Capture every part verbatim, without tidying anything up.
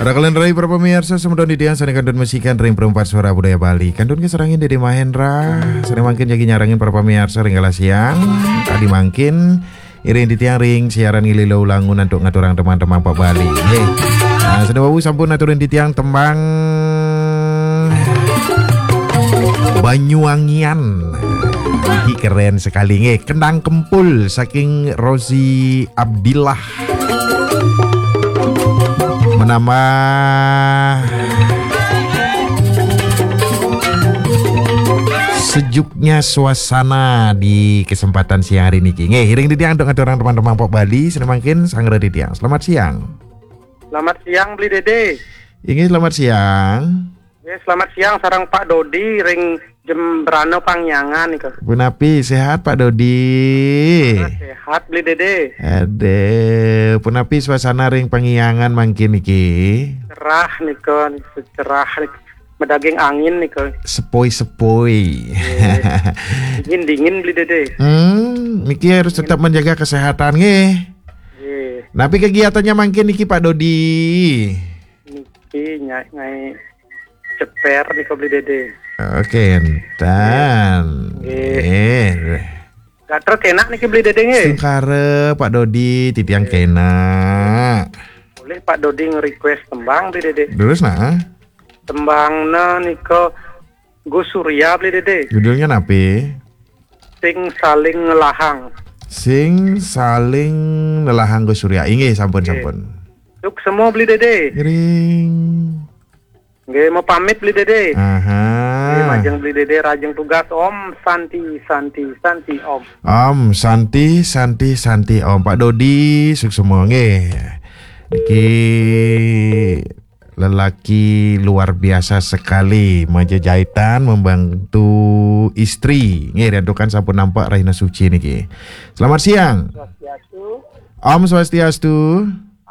Rakalan rai para pamiarsa, semeton titiang sané kantun masikan ring Perempat Suara Budaya Bali. Kantun kasarengin Dédé Mahendra, sané mangkin jagi nyarengin para pamiarsa ring galah siang. Tadi mangkin iring titiang ring siaran Ngilu Langun antuk ngaturang tembang-tembang Pak Bali. Nggih. Nah, sané wau sampun aturin titiang tembang Banyuwangian. Iki keren sekali nggih. Kendang Kempul saking Rozi Abdillah. Menambah sejuknya suasana di kesempatan siang hari niki. Nggih, iring titiang antuk ngaturang tembang-tembang Pak Bali, sané mangkin sareng titiang. Selamat siang. Selamat siang, Beli Dédé. Inggih, selamat siang. Ya, selamat siang sareng Pak Dodi ring Jembrana Pangiangan nika. Punapi, sehat Pak Dodi? Sehat, Beli Dédé. Aduh, punapi suasana ring Pangiangan mangkin niki? Cerah nika, cerah nika. Madaging angin nika. Sepoi-sepoi. Nggih. Dingin-dingin, Beli Dédé. Hmm, niki harus tetap menjaga kesehatan nggih. Nggih. Napi kegiatannya mangkin niki Pak Dodi? Niki nyai, nyai ceper nika, Beli Dédé. Oke, entan. Nggih. Nggih. Gatra kenak niki, Beli Dédé nggih. Sungkara Pak Dodi, titiang kenak. Boleh Pak Dodi nge-request tembang, Beli Dédé. Terus nah? Tembangna nika Gus Surya, Beli Dédé. Judulnya napi? Sing Saling Ngelahang. Sing Saling Ngelahang Gus Surya. Inggih, sampun, nggih, sampun. Suksma, Beli Dédé. Ngiring. Nggih, mau pamit, Beli Dédé. Aha. Nggih, majeng Beli Dédé, rajeng tugas. Om Santi, Santi, Santi, Om. Om Santi, Santi, Santi, Om. Pak Dodi, suksma nggih. Niki lelaki luar biasa sekali, majejahitan, membantu istri. Nggih, riantukan sampun nampak Rahina Suci niki. Selamat siang. Swastiastu. Om Swastiastu.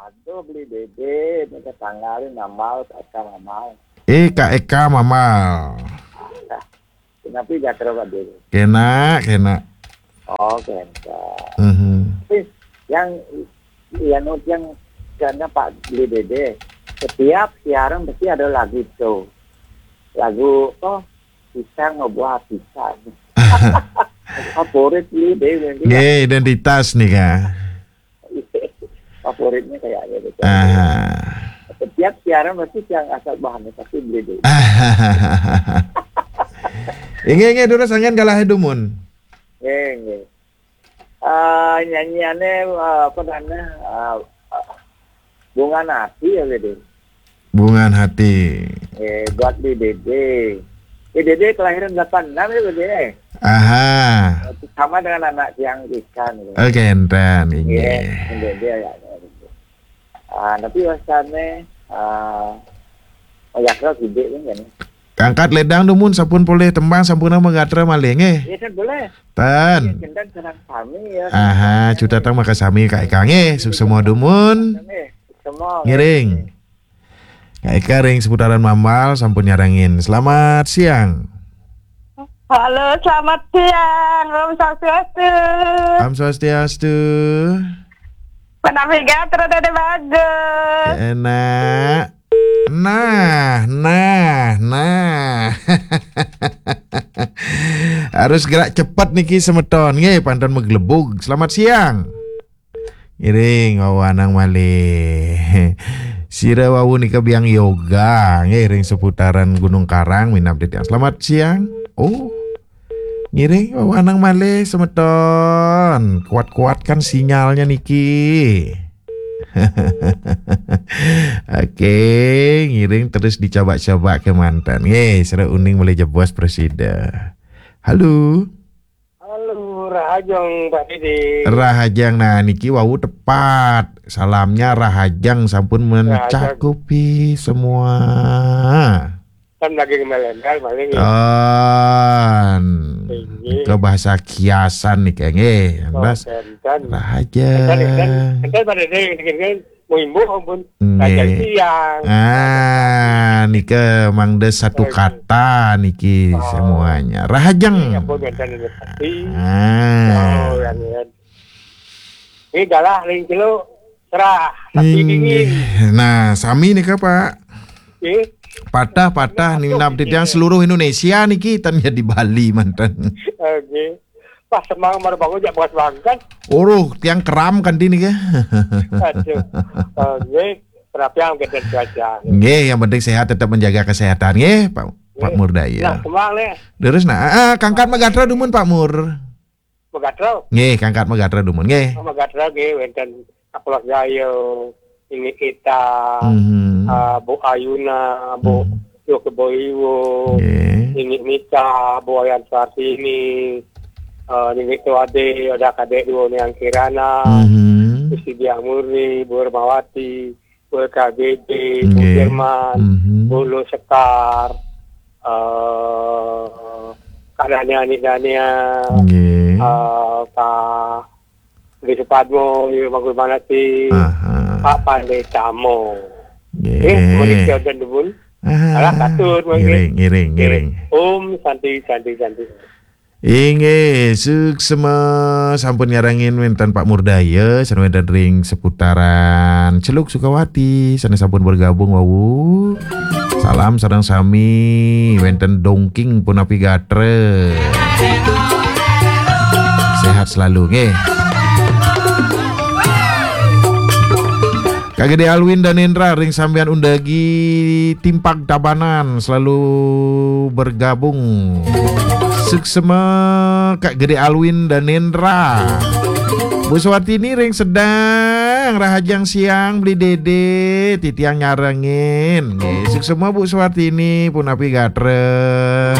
Aduh, Beli Dédé, minta tanggalin Mamal, Kak Eka Mamal. Eh, Kak Eka Mamal. Kenapa gatra, Pak Dédé? Kenak, kenak. Oh, kenak. Mhm. Tapi yang, yang, yang karena Pak Beli Dédé, setiap siaran pasti ada lagu itu. Lagu, oh, pisang ngebuah pisang. Favorit Beli Dédé. Nggih, identitas nih, Kak. Favoritnya kayaknya gitu. Aha. Setiap siaran pasti yang asal bahannya pasti Beli Dédé. Inggih, inggih, durus angin galah dumun. Nggih, nggih. Eh, nyanyiannya, eh, apa namanya? Eh, eh, Bunga Hati ya, Beli Dédé. Bunga Hati. Eh, buat Beli Dédé. Beli Dédé kelahiran delapan enam ya, Beli Dédé? Aha. Sama dengan anak yang ikan gitu. Oke, enten, inggih. Iya, Beli Dédé ya. Ah, tapi wasane, ah, oh, ya, kalau gede kan, kan. Angkat ledang dumun sampun polih tembang sampun nama gatra malih nggih. Iya, kan boleh. Tan. Iya, enten senang kami ya. Aha, cutetang makasami Kak Eka nggih. Suksema dumun. Nggih, semua. Ngiring. Kak Eka ring seputaran Mamal sampun nyarengin. Selamat siang. Halo, selamat siang. Om Swastiastu. Om Swastiastu. Menawi gatra Dédé bagus. Enak. Nah, nah, nah. Harus gerak cepat niki semeton. Nggih, pantun meglebug. Selamat siang. Ngiring, wau anang malih. Sira wau nika biang yoga, nggih, ring seputaran Gunung Karang, minab titiang. Selamat siang. Oh. Ngiring, wau anang malih, semeton. Kuat-kuatkan sinyalnya niki. Oke, ngiring terus dicoba-coba ke mantan. Nggih, sira uning malih jebos prasida. Halo. Halo, rahajeng, Pak Didi. Rahajeng, nah, niki wau tepat. Salamnya rahajeng sampun rahajeng mencakupi semua. Kan lagi ngemelendal paling ya. Ton. Inggih. Ke bahasa kiasan nih, Kang, nggih. Yang oh, bahas enten. Rahajeng. Enten, enten, enten, Pak Didi, niki, niki. Mimbuh ampun. Nggih. Kajian siang. Ah, nika mangda satu oke. Kata niki oh. Semuanya. Rahajeng. Iya, ampun, enten ini pasti. Ah. Oh, yang ini. Ini galah ring kilo. Cerah, tapi dingin. Nah, sami nika, Pak. Nggih. Patah-patah nih, nap titiang seluruh Indonesia niki, tan ya di Bali manten. Nggih. Pas semang mar bangun jak bekas banget. Uruh, tiang keram kan di nika. Aduh. Nggih. Terapi yang kita cuaca. Nggih, yang penting sehat, tetap menjaga kesehatan nggih, Pak, Pak Murdaya. Nah, semang nih. Terus nah, ah, kangkat magatra dumun, Pak Mur. Magatra. Nggih, kangkat magatra dumun nggih. Magatra nggih wenten Akulak Jaya, ini kita, Mhm. ah, Bu Ayuna, Bu Mhm. Yoke Boiwo, Nggih. ini Mita, Bu Wayan Sartini, eh, ini Tuade, ada Kadek Duo Niang Kirana, Mhm. Gusti Diang Murni, Bu Hermawati, Bu K B B, Bu Nggih. Jerman, Mhm. Bu Lo Sekar, eh, Kak Dania, Anik Dania, Nggih. eh, Pak Gede Supadmo, Ibu Mangkul Manati, Aha. Pak Pandai Tamo. Nggih. Eh, Mauricio dan Debul. Aha. Alah, katut, mungkin. Ngiring, ngiring, ngiring. Om Santi, Santi, Santi. Inggih, suksma sampun nyarengin wenten Pak Murdaya, sareng wenten ring seputaran Celuk Sukawati, sané sampun bergabung wau. Salam sareng sami, wenten Dongking punapi gatra. Sehat selalu, nggih. Kak Gede Alwin Danendra ring sampean undagi Timpag Tabanan selalu bergabung. Suksma Kak Gede Alwin Danendra. Bu Suwartini ring Sedang, rahajeng siang beli Dede, titiang nyarengin. Nggih, suksma Bu Suwartini, punapi gatra.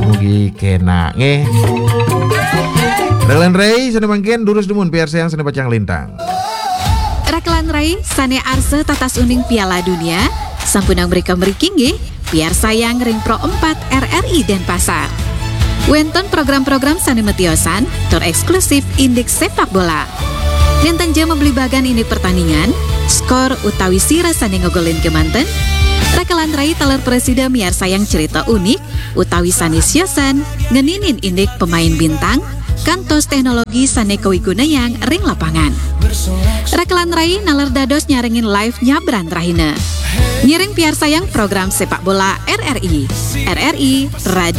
Mugi kenak nggih. Relan Rey, sané mangkin durus dumun piarsayang sané pacang lintang. Rekelan rai sané arsa tatas uning Piala Dunia, sampunang mrika mriki nggih, piarsayang ring Pro empat R R I Denpasar. Wénten program-program sané matiosan tur éksklusif indik sepak bola. Nénten ja mablibagan indik pertandingan, skor utawi sira sané ngogolin kemanten, rekelan rai taler prasida miarsayang cerita unik utawi sané siosan ngeninin indik pemain bintang, kantos teknologi sané kawigunayang ring lapangan. Rekelan rai naler dados nyarengin live nyabran rahina. Ngiring piarsayang program sepak bola R R I. R R I Radio